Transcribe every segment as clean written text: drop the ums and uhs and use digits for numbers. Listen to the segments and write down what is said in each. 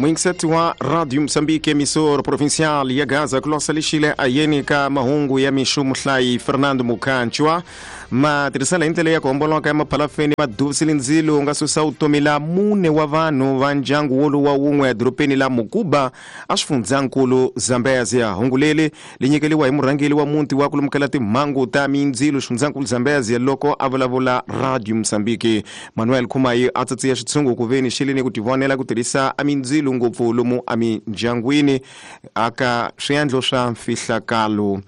Muingiseti wa Radio Moçambique, emissor provincial ya Gaza, kulosa lixile ayeni ka mahungu ya mixo muhlayi Fernando Mukhanchwa. Matirhiselo hi ndlela ya ku homboloka ya maphalafeni maduvisile ndzilo wu nga susa vutomi la mune wa vanhu va ndyangu wolowu wa wun'we edorobeni la Mukuba a xifundzankulu Zambezia. Hungu leri li nyikeliwa hi murhangeri wa muti wa ku lumukela timhangu ta mindzilo xifundzankulu Zambezia loko a vulavula Radio Moçambique. Manuel Khumayi a tsatsiya xitshungu ku veni xi le ni ku tivonela ku tirhisa a mindzilo ngopfu lomu emindyangwini aka swiendlo swa mfihlakalo.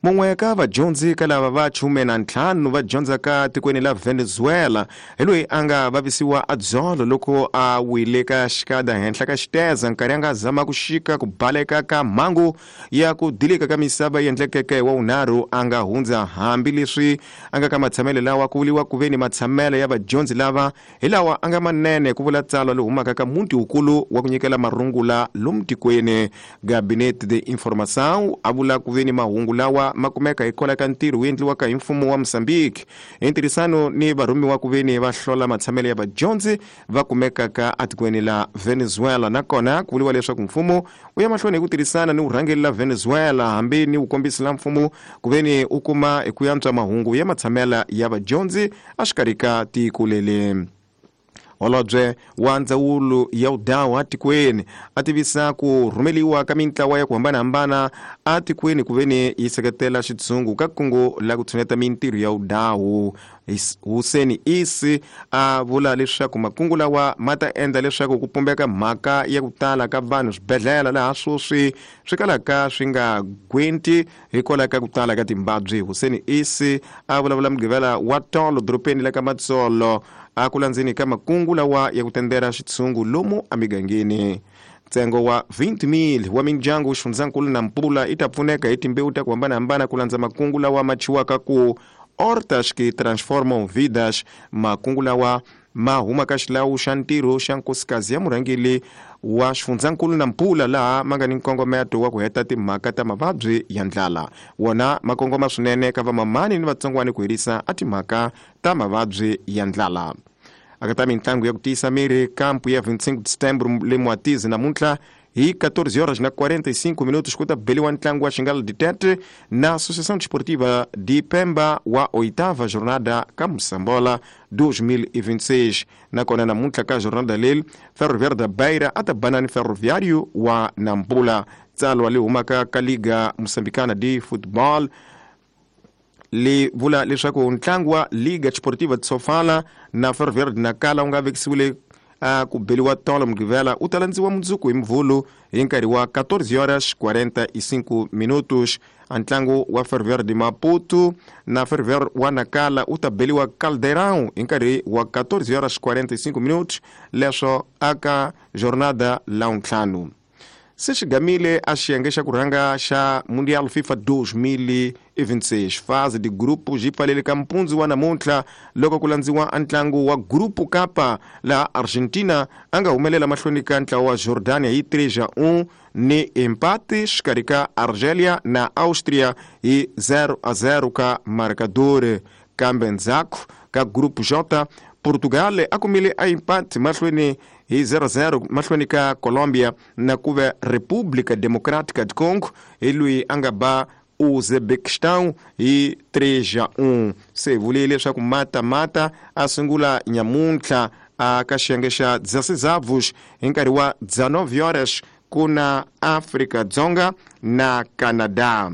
Mun'we ka vadyondzi ka lava va 15 va dyondzaka tikweni la Venezuela hi loyi a nga vavisiwa a dzolo loko a wile ka xikada henhla ka xiteza nkarhi a nga zama ku xika ku baleka ka mhangu ya ku dilika ka misava yi endlekeke wa vunharhu a nga hundza. Hambileswi a nga ka matshamelo lawa ku vuriwa ku ve ni matshamelo ya vadyondzi lava hi lawa a nga manene, ku vula tsalwa lowu humaka ka muti wukulu wa ku nyikela marungula lomu tikweni Gabinete de Informação, a vula ku ve ni mahungu lawa ma kumeka hikwalaho ka ntirho wu endliwaka hi mfumo wa Mozambique hi ntirhisano ni varhumiwa ku ve ni va hlola matshamelo ya vadyondzi va kumekaka etikweni la Venezuela. Nakona ku vuriwa leswaku mfumo wu ya mahlweni hi ku tirhisana ni vurhangeri la Venezuela hambi ni vukombisi la mfumo ku ve ni u kuma hi ku yantswa mahungu ya matshamela ya vadyondzi exikarhi ka tiko leli. Holobye wa ndzawulo ya vudawu etikweni a tivisa ku rhumeliwa ka mintlawa ya ku hambanahambana etikweni ku ve ni yi seketela xitshungu ka kungu la ku tshuneta mintirho ya vudawu. Huseni Isi a vula leswaku makungu lawa ma ta endla leswaku ku pumbeka mhaka ya ku tala ka vanhu swibedhlele laha sweswi swi kalaka swi nga gwenti hikwalaho ka ku tala ka timbabyi. Huseni Isi a vulavula Mugqivela wa tolo dorobeni la ka Matsolo a ku landzeni ka makungu lawa ya ku tendera xitshungu lomu emigangeni. Ntsengo wa 20,000 wa mindyangu xifundzankulu na Mpula yi ta pfuneka hi timbewu ta ku hambanahambana ku landza makungu lawa ma chiwaka ku Hortas que Transformam Vidas. Makungu lawa ma huma ka xilawu xa ntirho xa nkosikazi ya murhangeri wa xifundzankulu na Mpula laha ma nga ni nkongometo wa ku heta timhaka ta mavabyi ya ndlala. Wona ma kongoma swinene ka vamamani ni vatsongwani ku herisa a timhaka ta mavabyi ya ndlala. Aka ta mitlangu ya ku tiyisa miri kampu ya 25 December le Mwatizi namuntlha hi 14 horas na 45 minutos ku ta beliwa ntlangu wa Xingala Ditete na Associação Desportiva de Pemba wa oitava jornada ka Moçambola 2026. Nakona namuntlha ka jornada leri Ferroviário da Beira a ta bana ni Ferroviário wa Nampula. Tsalwa li humaka ka Liga Moçambicana de Futebol li vula leswaku ntlangu wa Liga Desportiva de Sofala na Ferroviário de Nacala wu nga vekisiwile a ku beliwa tolo Mugqivela u ta landziwa mundzuku hi Mvhulu hi nkarhi wa 14 horas 45 minutos. A ntlangu wa Ferroviário de Maputo na Ferroviário wa Nacala u ta beliwa Caldeirão hi nkarhi wa 14 horas 45 minutos, leswo aka jornada la ntlhanu. Se xi gamile a xiyenge xa ku rhanga xa Mundial FIFA 2026 fase de grupo xi pfalele ka mpundzu wa namuntlha loko ku landziwa a ntlangu wa grupo Kapa laha Argentina a nga humelela mahlweni ka ntlawa wa Jordania hi 3-1 ni empate xikarhi ka Argelia na Austria hi 0-0 ka marcador. Kambe ndzhaku ka grupo J, Portugal a kumile a empate mahlweni hi 0-0 mahlweni ka Colombia, na ku ve República Democrática de Congo hi loyi a nga ba Uzbekistan hi 3-1. Se vule leswaku mata a sungula nyamuntlha a ka xiyenge xa 16 hi nkarhi wa 19 horas ku na Afrika Dzonga na Canada.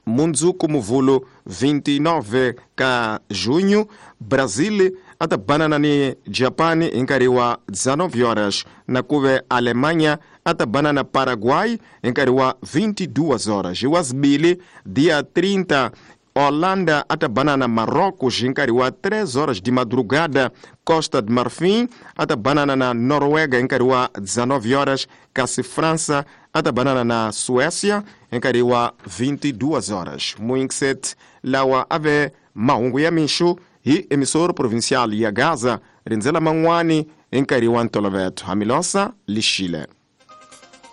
Mundzuku Muvhulu 29 ka junho, Brazil a ta banana ni Japan hi nkarhi wa 19 horas, na ku ve Alemanha a ta banana Paraguay hi nkarhi wa 22 horas. Hi wa zibili dia 30, Holanda a ta banana Marrocos hi nkarhi wa 3 horas de madrugada. Costa de Marfim a ta banana na Noruega hi nkarhi wa 19 horas, kasi França a ta banana na Suécia hi nkarhi wa 22 horas. Muinkset lawa a ve mahungu ya mixo hi emissor provincial ya Gaza, rindzela man'wani hi nkarhi wa ntoloveto. Hamilosa lixile.